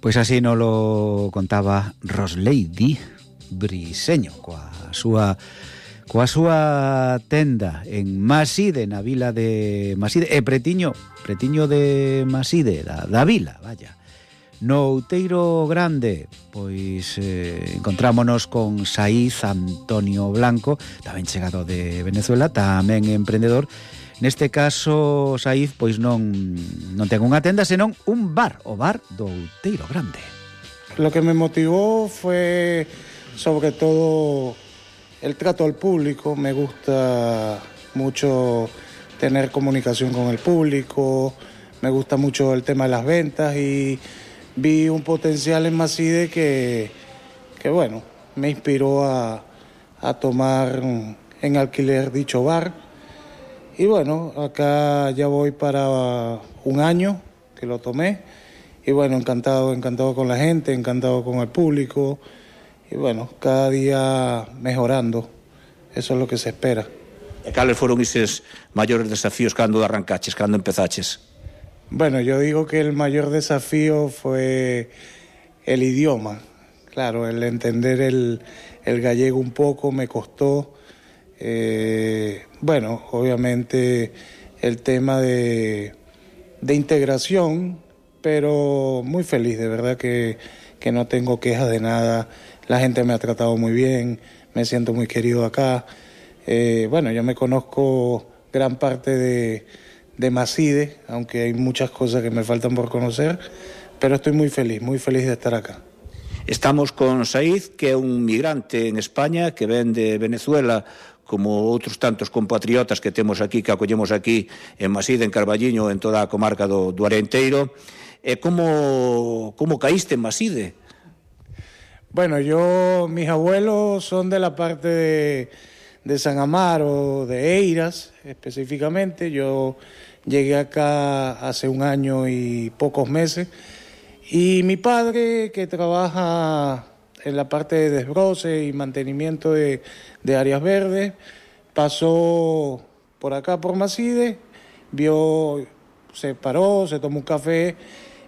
Pois así nos lo contaba Roslady Briseño coa súa tenda en Maside, na vila de Maside, pretiño de Maside, da vila, vaya. No Outeiro Grande, pois encontrámonos con Saiz Antonio Blanco, tamén chegado de Venezuela, tamén emprendedor. Neste caso, Saiz, pois non ten unha tenda, senón un bar, o bar do Outeiro Grande. Lo que me motivó fue sobre todo el trato al público. Me gusta mucho tener comunicación con el público, me gusta mucho el tema de las ventas y vi un potencial en Maside que bueno, me inspiró a tomar en alquiler dicho bar. Y bueno, acá ya voy para un año que lo tomé. Y bueno, encantado con la gente, encantado con el público. Y bueno, cada día mejorando. Eso es lo que se espera. E cales foron eses maiores desafíos cando arrancaches, cando empezaches? Bueno, yo digo que el mayor desafío fue el idioma. Claro, el entender el gallego un poco me costó. Bueno, obviamente el tema de integración, pero muy feliz, de verdad que no tengo quejas de nada. La gente me ha tratado muy bien, me siento muy querido acá. Bueno, yo me conozco gran parte de Maside, aunque hay muchas cosas que me faltan por conocer, pero estoy muy feliz de estar acá. Estamos con Saiz, que é un migrante en España, que ven de Venezuela, como outros tantos compatriotas que temos aquí, que acollemos aquí en Maside, en Carballiño, en toda a comarca do Arenteiro. Como caíste en Maside? Bueno, mis abuelos son de la parte de San Amaro, de Eiras específicamente. Yo llegué acá hace un año y pocos meses. Y mi padre, que trabaja en la parte de desbroce y mantenimiento de áreas verdes, pasó por acá por Maside, se paró, se tomó un café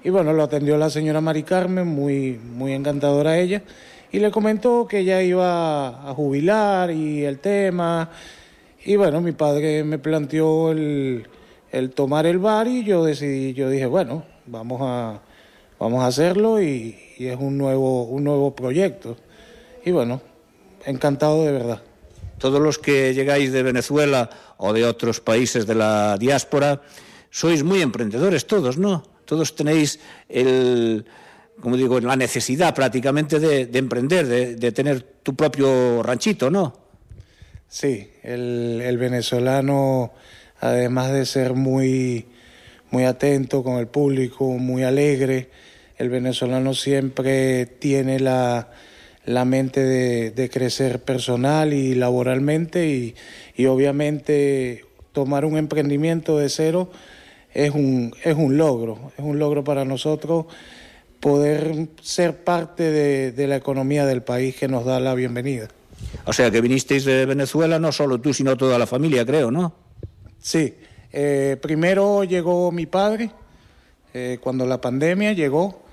y bueno, lo atendió la señora Mari Carmen, muy encantadora ella, y le comentó que ella iba a jubilar y el tema. Y bueno, mi padre me planteó el tomar el bar y yo dije, bueno, vamos a hacerlo y es un nuevo proyecto. Y bueno, encantado de verdad. Todos los que llegáis de Venezuela o de otros países de la diáspora, sois muy emprendedores todos, ¿no? Todos tenéis la necesidad prácticamente de emprender, de tener tu propio ranchito, ¿no? Sí, el venezolano, además de ser muy atento con el público, muy alegre, el venezolano siempre tiene la mente de crecer personal y laboralmente y obviamente tomar un emprendimiento de cero es un logro para nosotros poder ser parte de la economía del país que nos da la bienvenida. O sea que vinisteis de Venezuela no solo tú sino toda la familia, creo, ¿no? Sí, primero llegó mi padre, cuando la pandemia llegó,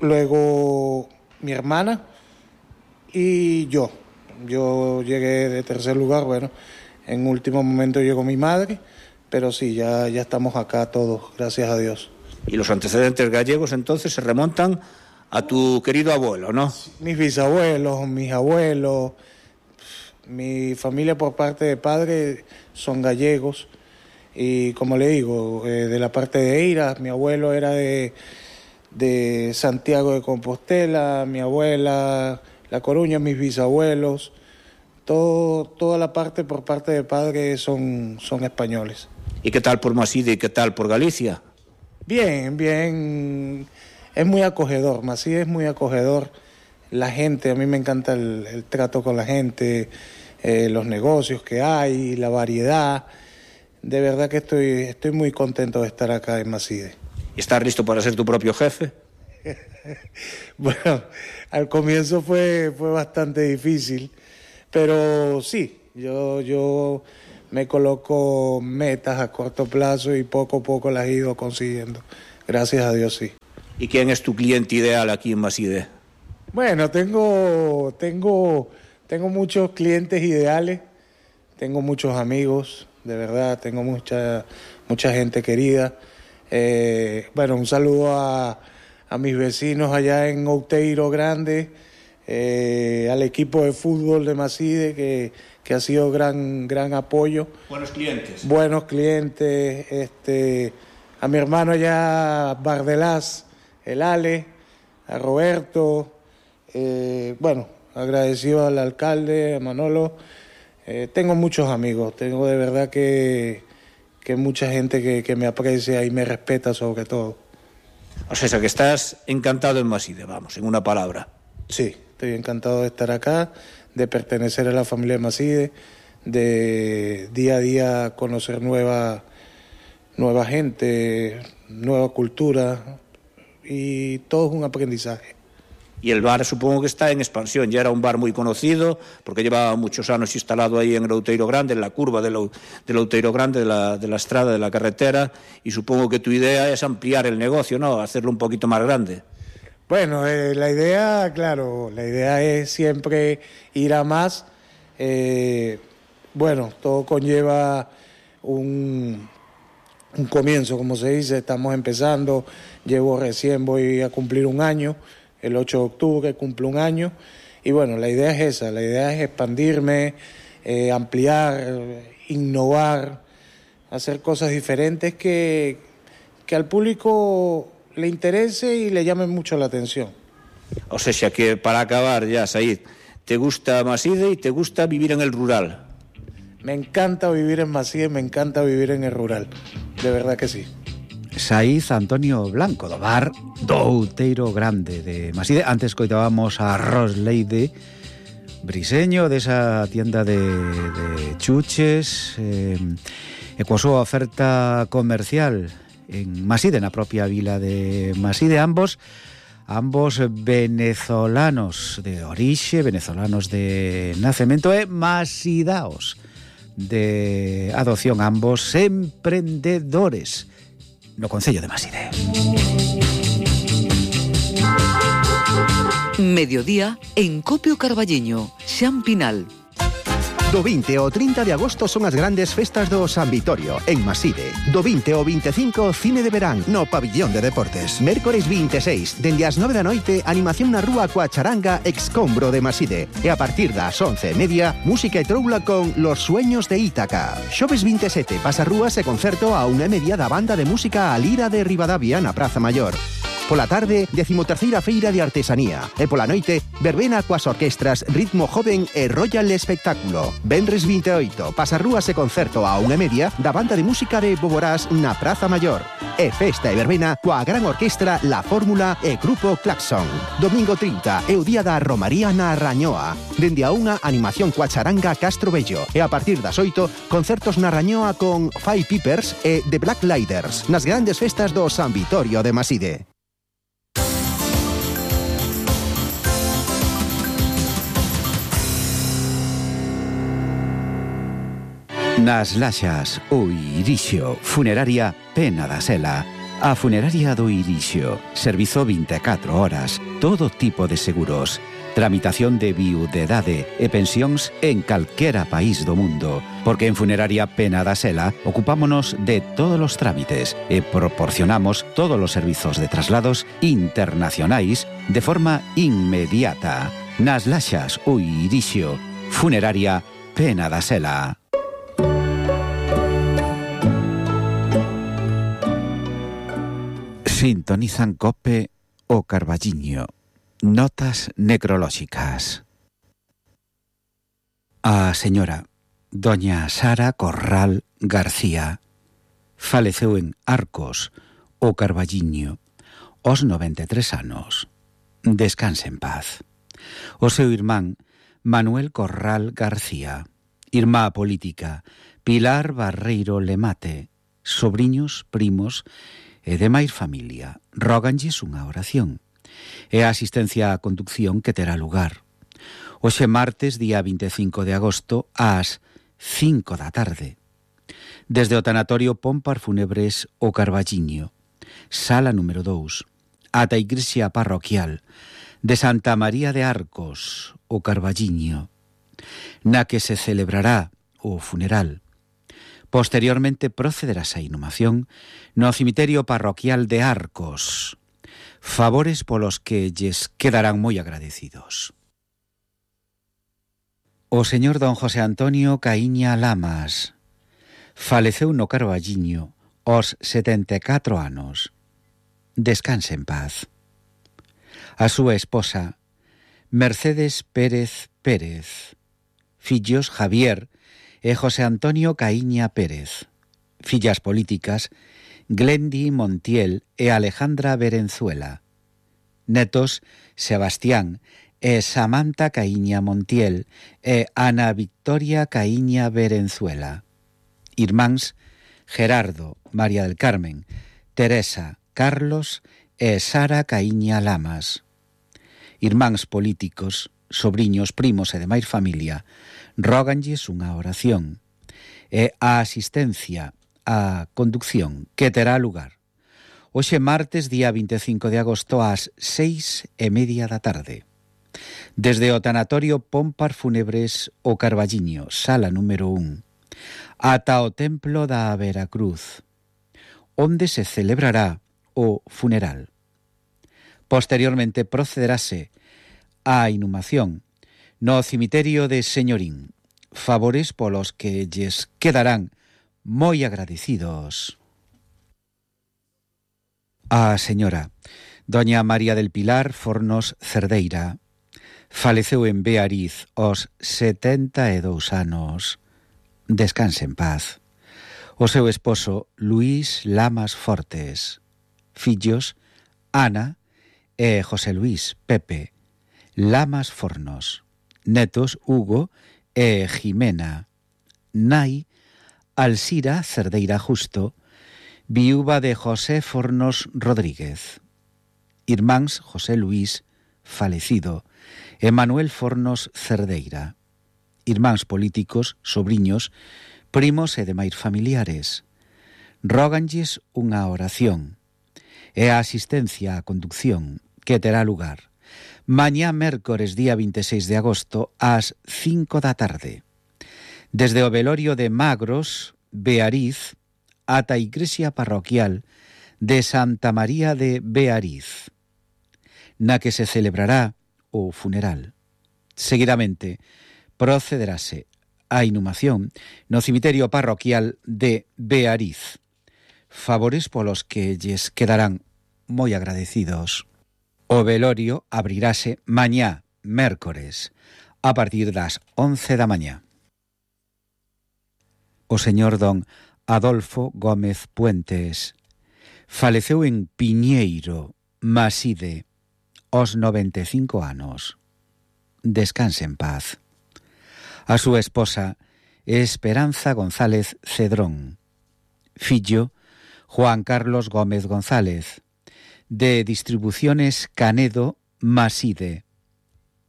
luego mi hermana y yo llegué de tercer lugar. Bueno, en último momento llegó mi madre, pero sí, ya estamos acá todos, gracias a Dios. Y los antecedentes gallegos entonces se remontan a tu querido abuelo, ¿no? Mis bisabuelos, mis abuelos, mi familia por parte de padre son gallegos y como le digo, de la parte de Eiras, mi abuelo era de Santiago de Compostela, mi abuela, La Coruña, mis bisabuelos, toda la parte por parte de padre son españoles. ¿Y qué tal por Maside y qué tal por Galicia? Bien, es muy acogedor, Maside es muy acogedor, la gente, a mí me encanta el trato con la gente, los negocios que hay, la variedad, de verdad que estoy muy contento de estar acá en Maside. ¿Y estás listo para ser tu propio jefe? Bueno, al comienzo fue bastante difícil, pero sí, yo me coloco metas a corto plazo y poco a poco las he ido consiguiendo. Gracias a Dios, sí. ¿Y quién es tu cliente ideal aquí en Maside? Bueno, tengo muchos clientes ideales, tengo muchos amigos, de verdad, tengo mucha gente querida. Bueno, un saludo a mis vecinos allá en Outeiro Grande, al equipo de fútbol de Maside que ha sido gran apoyo. Buenos clientes. Buenos clientes, a mi hermano allá Bardelás, el Ale, a Roberto, bueno, agradecido al alcalde, a Manolo. Tengo muchos amigos, tengo de verdad que mucha gente que me aprecia y me respeta sobre todo. O sea, que estás encantado en Maside, vamos, en una palabra. Sí, estoy encantado de estar acá, de pertenecer a la familia de Maside, de día a día conocer nueva gente, nueva cultura, y todo es un aprendizaje. Y el bar supongo que está en expansión, ya era un bar muy conocido, porque llevaba muchos años instalado ahí en el Outeiro Grande, en la curva del Outeiro Grande, de la estrada, de la carretera, y supongo que tu idea es ampliar el negocio, ¿no? Hacerlo un poquito más grande. Bueno, la idea es siempre ir a más. Bueno, todo conlleva un comienzo, como se dice, estamos empezando, voy a cumplir un año, el 8 de octubre cumplo un año, y bueno, la idea es esa, la idea es expandirme, ampliar, innovar, hacer cosas diferentes que al público le interese y le llame mucho la atención. O sea que para acabar ya, Said, ¿te gusta Maside y te gusta vivir en el rural? Me encanta vivir en Maside, me encanta vivir en el rural, de verdad que sí. Said Antonio Blanco, do bar do Outeiro Grande de Maside. Antes coitábamos a Rosleide Briseño desa tienda de chuches e coa súa oferta comercial en Maside, na propia vila de Maside, ambos venezolanos de orixe, venezolanos de nacemento e masidaos de adopción, ambos emprendedores no Concello de Maside. Mediodía en Copio Carballiño, Xan Pinal. Do 20 ao 30 de agosto son as grandes festas do San Vitorio, en Maside. Do 20 ao 25, cine de verán, no Pabillón de Deportes. Mércores 26, dende as 9 da noite, animación na rúa coa charanga Excombro de Maside. E a partir das 11:30, música e troula con Los Sueños de Ítaca. Xoves 27, pasarrúas e concerto a 1:30 da banda de música A Lira de Ribadavia na Praza Maior. Pola tarde, 13ª Feira de Artesanía. E pola noite, verbena coas orquestras Ritmo Joven e Royal Espectáculo. Venres 28, pasarrúas e concerto a 1:30 da banda de música de Boborás na Praza Maior. E festa e verbena coa gran orquestra La Fórmula e Grupo Claxon. Domingo 30 é o día da Romaría na Rañoa. Dende a 1, animación coa charanga Castro Bello. E a partir das 8, concertos na Rañoa con Five Peepers e The Black Lighters nas grandes festas do San Vitorio de Maside. Nas Laxas, o Irixio, funeraria Pena da Sela. A funeraria do Irixio, servizo 24 horas, todo tipo de seguros, tramitación de viudedade e pensións en calquera país do mundo, porque en Funeraria Pena da Sela ocupámonos de todos os trámites e proporcionamos todos os servizos de traslados internacionais de forma inmediata. Nas Laxas, o Irixio, funeraria Pena da Sela. Sintonizan Cope o Carballiño. Notas necrolóxicas. A señora doña Sara Corral García faleceu en Arcos, o Carballiño, aos 93 anos. Descanse en paz. O seu irmán Manuel Corral García, irmá política Pilar Barreiro Lemate, sobriños, primos e demais familia, róganlles unha oración e a asistencia á conducción que terá lugar hoxe martes, día 25 de agosto, ás 5 da tarde, desde o tanatorio Pompar Fúnebres o Carballiño, sala número 2, ata a igrexa parroquial de Santa María de Arcos, o Carballiño, na que se celebrará o funeral. Posteriormente procederase a inhumación no cemiterio parroquial de Arcos, favores polos que lles quedarán moi agradecidos. O señor don José Antonio Caíña Lamas faleceu no Carballiño aos 74 anos. Descanse en paz. A súa esposa, Mercedes Pérez Pérez, fillos Javier e José Antonio Caíña Pérez, fillas políticas Glendi Montiel e Alejandra Berenzuela, netos Sebastián e Samantha Caíña Montiel e Ana Victoria Caíña Berenzuela, irmáns Gerardo, María del Carmen, Teresa, Carlos e Sara Caíña Lamas, irmáns políticos, sobriños, primos e demais familia, róganlles unha oración e a asistencia á conducción que terá lugar hoxe martes, día 25 de agosto, ás 6:30 da tarde. Desde o tanatorio Pompar Fúnebres o Carballiño, sala número 1, ata o templo da Veracruz, onde se celebrará o funeral. Posteriormente procederase a inhumación no cemiterio de Señorín, favores polos que lles quedarán moi agradecidos. A señora doña María del Pilar Fornos Cerdeira faleceu en Beariz aos 72 anos. Descanse en paz. O seu esposo Luís Lamas Fortes, fillos Ana e José Luís Pepe Lamas Fornos, netos Hugo e Jimena, nai Alsira Cerdeira Justo, viúva de José Fornos Rodríguez, irmáns José Luís falecido e Manuel Fornos Cerdeira, irmáns políticos, sobriños, primos e demais familiares. Róganlles unha oración e a asistencia á conducción que terá lugar mañá mércores, día 26 de agosto, ás 5 da tarde. Desde o velorio de Magros, Beariz, ata a igrexa parroquial de Santa María de Beariz, na que se celebrará o funeral. Seguidamente, procederase a inhumación no cemiterio parroquial de Beariz, favores polos que lles quedarán moi agradecidos. O velorio abrirase mañá, mércores, a partir das 11 da mañá. O señor don Adolfo Gómez Puentes faleceu en Piñeiro, Maside, aos 95 anos. Descanse en paz. A súa esposa, Esperanza González Cedrón, fillo Juan Carlos Gómez González, de Distribuciones Canedo, Maside,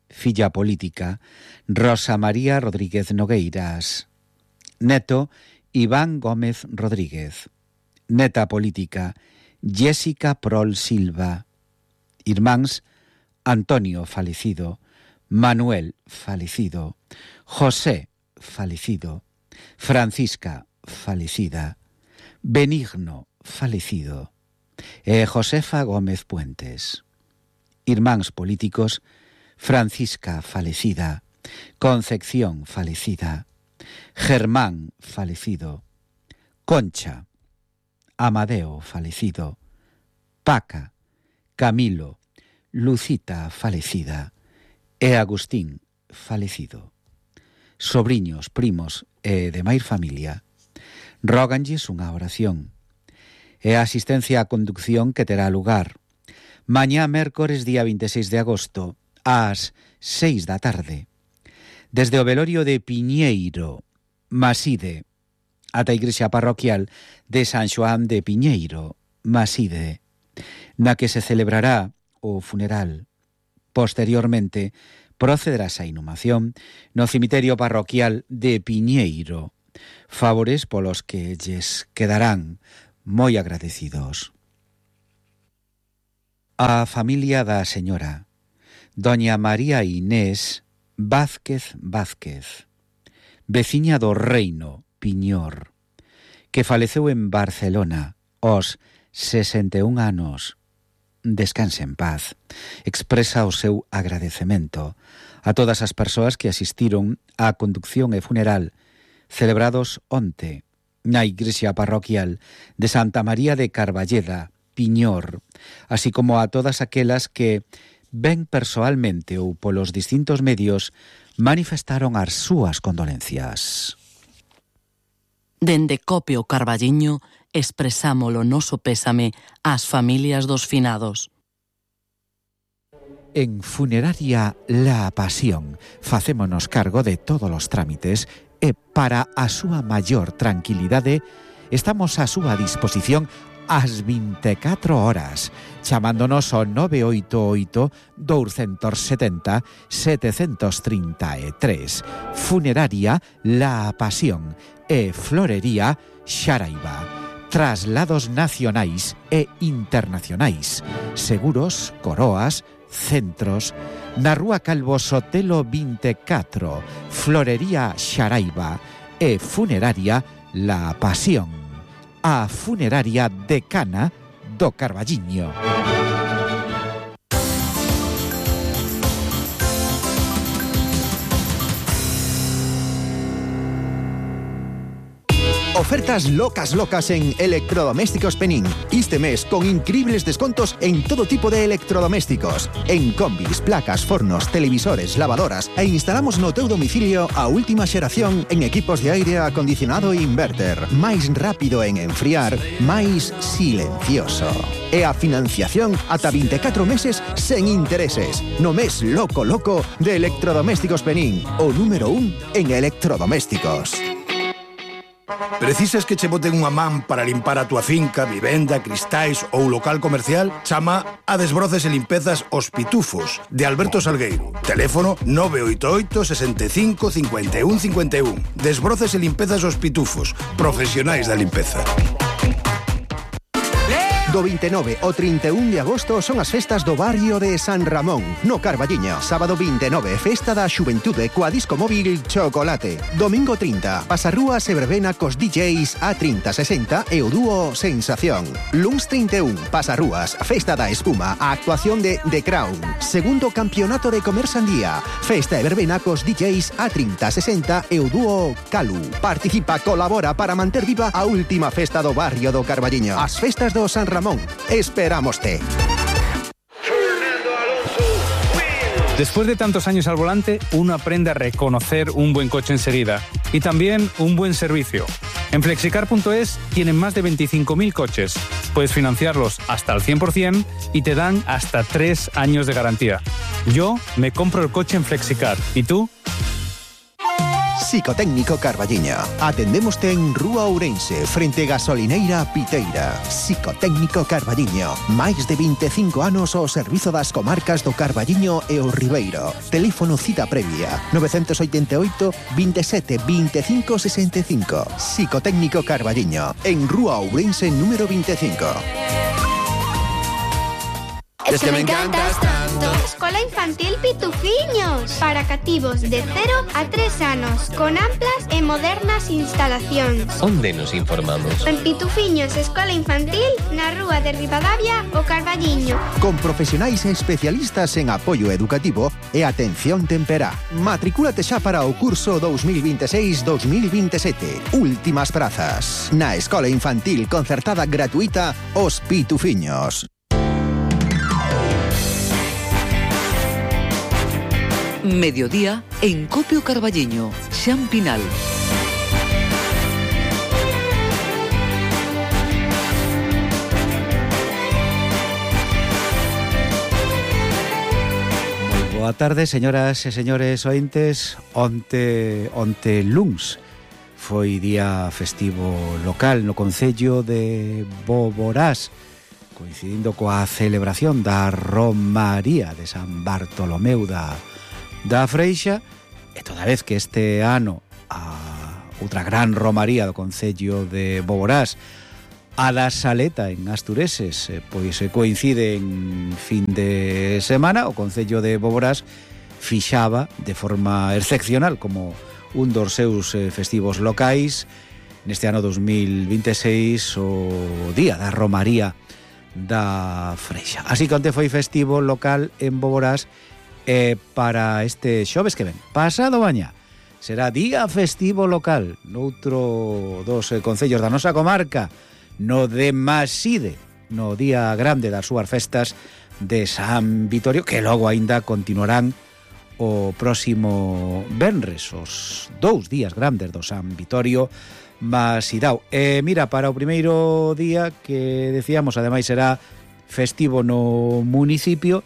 filla política Rosa María Rodríguez Nogueiras, neto Iván Gómez Rodríguez, neta política Jessica Prol Silva, irmáns Antonio falecido, Manuel falecido, José falecido, Francisca falecida, Benigno falecido e Josefa Gómez Puentes, irmáns políticos Francisca falecida, Concepción falecida, Germán falecido, Concha, Amadeo falecido, Paca, Camilo, Lucita falecida e Agustín falecido. Sobriños, primos e demais familia, róganlles unha oración e a asistencia á conducción que terá lugar mañá mércores, día 26 de agosto, ás 6 da tarde, desde o velorio de Piñeiro, Maside, ata a igrexa parroquial de San Xoán de Piñeiro, Maside, na que se celebrará o funeral. Posteriormente, procederase a inhumación no cemiterio parroquial de Piñeiro, favores polos que lles quedarán moi agradecidos. A familia da señora Doña María Inés Vázquez Vázquez, veciña do Reino, Piñor, que faleceu en Barcelona aos 61 anos. Descanse en paz. Expresa o seu agradecemento a todas as persoas que asistiron á conducción e funeral celebrados onte na igrexa parroquial de Santa María de Carballeda, Piñor, así como a todas aquelas que, ben persoalmente ou polos distintos medios, manifestaron as súas condolencias. Dende Copio Carballiño expresamos o noso pésame ás familias dos finados. En Funeraria La Pasión facémonos cargo de todos os trámites e para a súa maior tranquilidade estamos a súa disposición ás 24 horas, chamándonos ao 988-270-733. Funeraria La Pasión e Florería Xaraiba. Traslados nacionais e internacionais. Seguros, coroas, centros. Na Rúa Calvo Sotelo 24, Florería Xaraiba e Funeraria La Pasión. A funeraria decana do Carballiño. Ofertas locas en Electrodomésticos Penín. Este mes con increíbles descontos en todo tipo de electrodomésticos. En combis, placas, fornos, televisores, lavadoras e instalamos no teu domicilio a última xeración en equipos de aire acondicionado e inverter. Máis rápido en enfriar, máis silencioso. E a financiación ata 24 meses sen intereses. No mes loco de Electrodomésticos Penín. O número 1 en electrodomésticos. Precisas que che boten unha man para limpar a túa finca, vivenda, cristais ou local comercial? Chama a Desbroces e Limpezas Os Pitufos, de Alberto Salgueiro. Teléfono 988 65 51 51. Desbroces e Limpezas Os Pitufos, profesionais da limpeza. Do 29 ao 31 de agosto son as festas do barrio de San Ramón, no Carballiño. Sábado 29, festa da xuventude coa disco móvil Chocolate. Domingo 30, pasarrúas e verbena cos DJs A3060 e o dúo Sensación. Luns 31, pasarrúas, festa da espuma, a actuación de The Crown. Segundo campeonato de comer sandía, festa e verbena cos DJs A3060 e o dúo Calu. Participa, colabora para manter viva a última festa do barrio do Carballiño. As festas do San Ramón. Esperámoste. Después de tantos años al volante, uno aprende a reconocer un buen coche enseguida y también un buen servicio. En Flexicar.es tienen más de 25.000 coches. Puedes financiarlos hasta al 100% y te dan hasta 3 años de garantía. Yo me compro el coche en Flexicar. ¿Y tú? Psicotécnico Carballiño. Atendémoste en Rúa Ourense, frente Gasolineira Piteira. Psicotécnico Carballiño. Máis de 25 anos ao servizo das comarcas do Carballiño e o Ribeiro. Teléfono cita previa 988 27 25 65. Psicotécnico Carballiño. En Rúa Ourense número 25. Es que me encantas tanto. Escola Infantil Pitufiños, para cativos de 0 a 3 anos, con amplas e modernas instalacións. Onde nos informamos? En Pitufiños Escola Infantil, na Rúa de Ribadavia, o Carballiño. Con profesionais e especialistas en apoio educativo e atención temperá. Matricúlate xa para o curso 2026-2027. Últimas prazas. Na Escola Infantil concertada gratuita Os Pitufiños. Mediodía en Copio Carballiño, Xan Pinal. Moi boa tarde, señoras e señores ointes. Onte luns foi día festivo local no concello de Boborás, coincidindo coa celebración da Romaría de San Bartolomeu da Freixa, e toda vez que este ano a outra gran romaría do concello de Boborás a da Saleta en Astureses, pois coincide en fin de semana. O Concello de Boborás fixaba de forma excepcional como un dos seus festivos locais neste ano 2026 o Día da Romaría da Freixa. Así que onte foi festivo local en Boborás, para este xoves que ven, pasado mañá, será día festivo local noutro dos concellos da nosa comarca, no de Maside, no día grande das súas festas de San Vitorio, que logo aínda continuarán o próximo venres, os 2 días grandes do San Vitorio Masidao. Mira, para o primeiro día, que decíamos, ademais será festivo no municipio,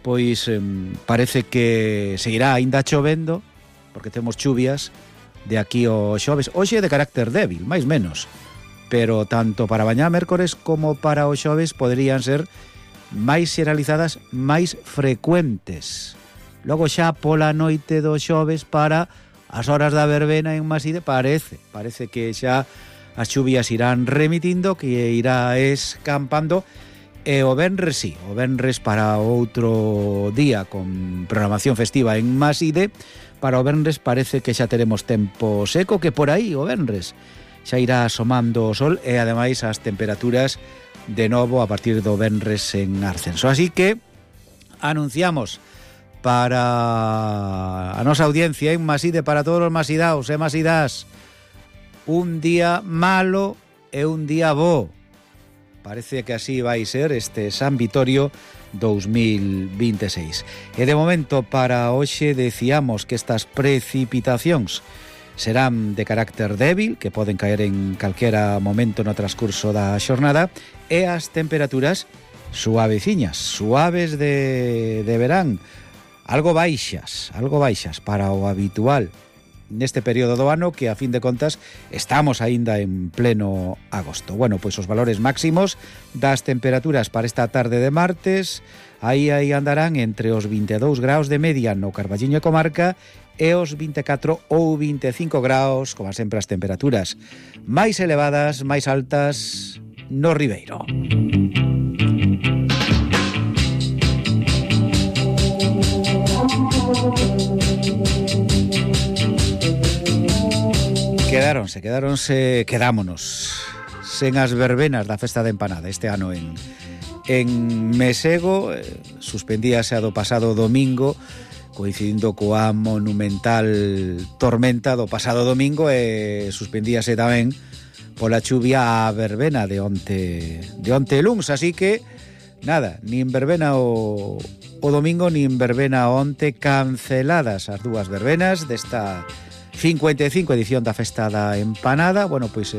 pois parece que seguirá aínda chovendo, porque temos chuvias de aquí ao xoves. Hoxe de carácter débil, máis menos, pero tanto para mañá mércores como para o xoves poderían ser máis xeralizadas, máis frecuentes. Logo xa pola noite do xoves, para as horas da verbena en Maside, parece que xa as chuvias irán remitindo, que irá escampando. E o venres, sí, o venres para outro día con programación festiva en Maside. Para o venres parece que xa teremos tempo seco, que por aí o venres xa irá asomando o sol, e ademais as temperaturas de novo a partir do venres en ascenso. Así que anunciamos para a nosa audiencia en Maside, para todos os masidaos e masidas, un día malo e un día bo. Parece que así vai ser este San Vitorio 2026. E de momento para hoxe decíamos que estas precipitacións serán de carácter débil, que poden caer en calquera momento no transcurso da xornada, e as temperaturas suaveciñas, suaves de verán, algo baixas para o habitual neste período do ano, que a fin de contas estamos aínda en pleno agosto. Bueno, pois os valores máximos das temperaturas para esta tarde de martes aí andarán entre os 22 graus de media no Carballiño e comarca e os 24 ou 25 graus, como sempre as temperaturas máis elevadas, máis altas no Ribeiro. Quedámonos sen as verbenas da festa da empanada este ano en Mesego. Suspendíase a do pasado domingo, coincidindo coa monumental tormenta do pasado domingo, e suspendíase tamén pola chuvia a verbena de onte luns. Así que nada, nin verbena o domingo, nin verbena onte, canceladas as dúas verbenas desta 55 edición da festa da empanada. Bueno, pois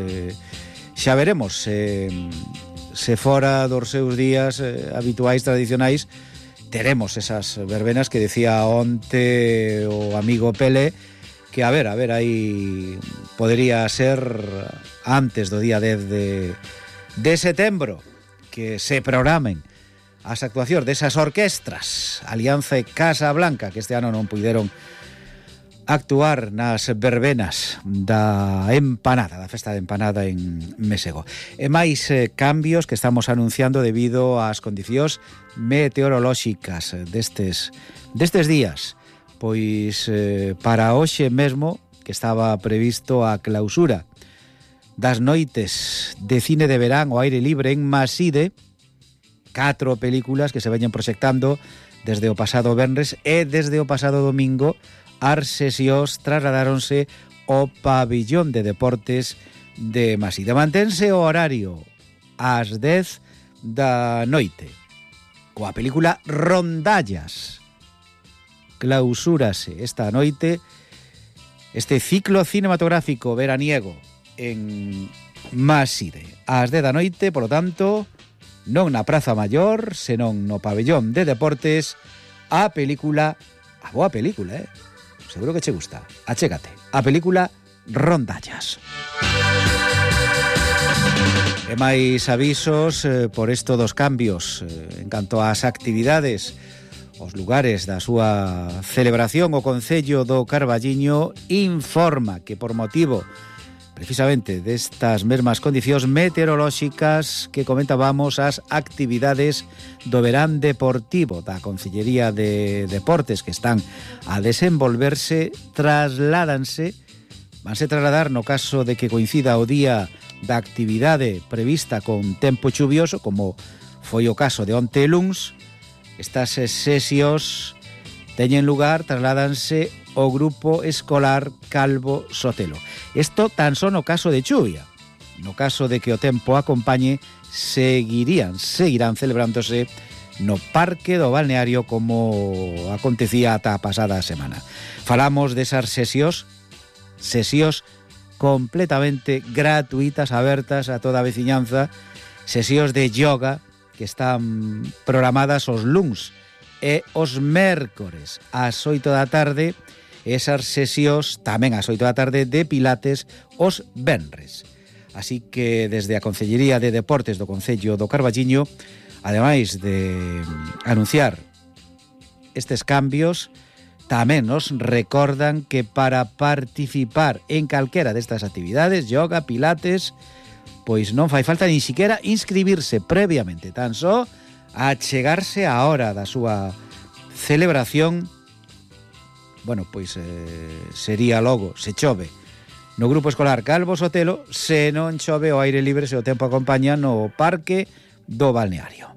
xa veremos se fora dos seus días habituais, tradicionais, teremos esas verbenas que decía onte o amigo Pele, que a ver, aí podería ser antes do día 10 de setembro, que se programen as actuacións desas orquestras Alianza e Casa Blanca, que este ano non puideron actuar nas verbenas da empanada, da festa da empanada en Mesego. E máis cambios que estamos anunciando debido ás condicións meteorolóxicas destes días. Pois para hoxe mesmo, que estaba previsto a clausura das noites de cine de verán ao aire libre en Maside, 4 películas que se veñen proxectando desde o pasado venres e desde o pasado domingo. As sesións trasladáronse ao pabillón de deportes de Maside. Mantense o horario ás 10 da noite coa película Rondallas. Clausúrase esta noite este ciclo cinematográfico veraniego en Maside ás 10 da noite, polo tanto, non na Praza Maior, senón no pabillón de deportes, a boa película, seguro que che gusta. Achégate, a película Rondallas. E máis avisos por isto dos cambios en canto ás actividades, os lugares da súa celebración. O Concello do Carballiño informa que por motivo precisamente destas mesmas condicións meteorolóxicas que comentábamos as actividades do verán deportivo da Consellería de Deportes que están a desenvolverse, vanse trasladar no caso de que coincida o día da actividade prevista con tempo chuvioso, como foi o caso de onte luns. Estas sesións teñen lugar, trasládanse o Grupo Escolar Calvo Sotelo. Isto tan só no caso de chuvia. No caso de que o tempo acompañe, seguirán celebrándose no Parque do Balneario como acontecía ata a pasada semana. Falamos desas sesións completamente gratuitas, abertas a toda a veciñanza, sesións de yoga que están programadas os luns e os mércores ás 8 da tarde, esas sesións tamén ás 8 da tarde de pilates os venres. Así que desde a Consellería de Deportes do Concello do Carballiño, ademais de anunciar estes cambios, tamén nos recordan que para participar en calquera destas actividades, yoga, pilates, pois non fai falta nin siquiera inscribirse previamente, tan só achegarse á hora da súa celebración. Bueno, pois sería logo, se chove, no Grupo Escolar Calvo Sotelo, se non chove o aire libre, se o tempo acompaña no Parque do Balneario.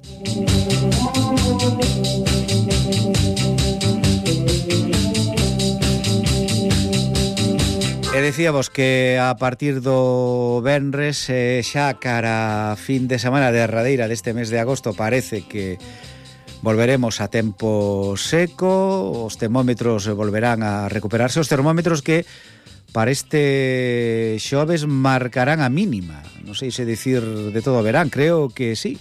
E decíamos que a partir do venres, xa cara a fin de semana derradeira deste mes de agosto, parece que volveremos a tempo seco, os termómetros volverán a recuperarse, os termómetros que para este xoves marcarán a mínima, non sei se dicir de todo o verán, creo que sí.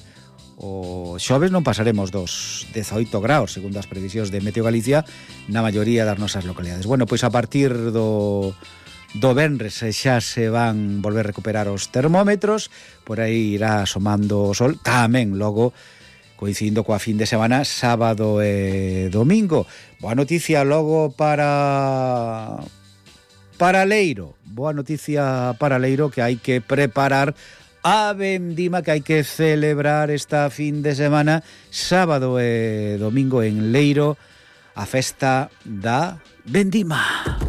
O xoves non pasaremos dos 18 graus, segundo as previsións de Meteo Galicia, na maioría das nosas localidades. Bueno, pois a partir do venres xa se van volver a recuperar os termómetros, por aí irá asomando o sol, tamén logo coincidindo coa fin de semana, sábado e domingo. Boa noticia logo para Leiro. Boa noticia para Leiro, que hai que preparar a vendima que hai que celebrar esta fin de semana, sábado e domingo en Leiro, a festa da vendima.